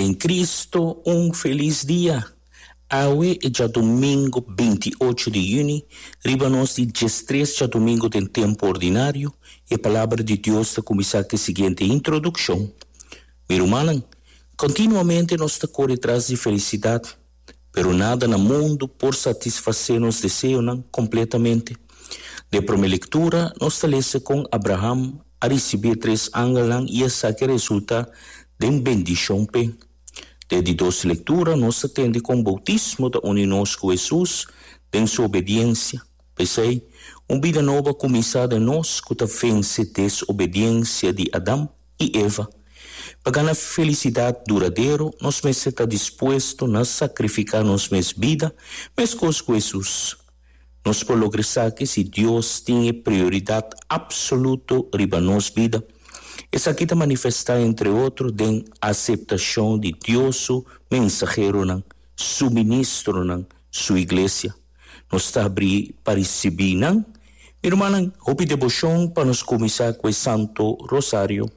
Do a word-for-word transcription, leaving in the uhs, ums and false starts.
Den Cristo, un felis dia. Awe ta djadumingu binti ocho di yüni, riba nos di diestres djadumingu den tempu ordinario, e palabra di Dios ta kuminsá ku e siguiente introdukshon. Mi rumannan, kontinuamente nos ta kore tras di felisidat, pero nada na mundu por satisfasé nos deseonan kompletamente. Den promé lektura, nos ta lesa kon Abraham a risibí tres angelnan i esaki a resultá den bendishon p'e. Den di dos lektura, nos ta tende kon boutismo ta uni nos ku Hesus den su obediensia. P'esei, un bida nobo a kuminsá den nos ku ta vense desobediensia di Adam i Eva. Pa gana felisidat duradero, nos mester ta dispuesto na sakrifiká nos mes bida, meskos ku Hesus. Nos por logra esaki si Dios tin e prioridat apsoluto riba nos bida. Esaki ta manifestá entre otro den aseptashon di Dios su mensaheronan, su ministronan, su iglesia. Nos ta habrí pa risibí nan? Mi rumannan, hopi deboshon pa nos kuminsá ku e Santo Rosario.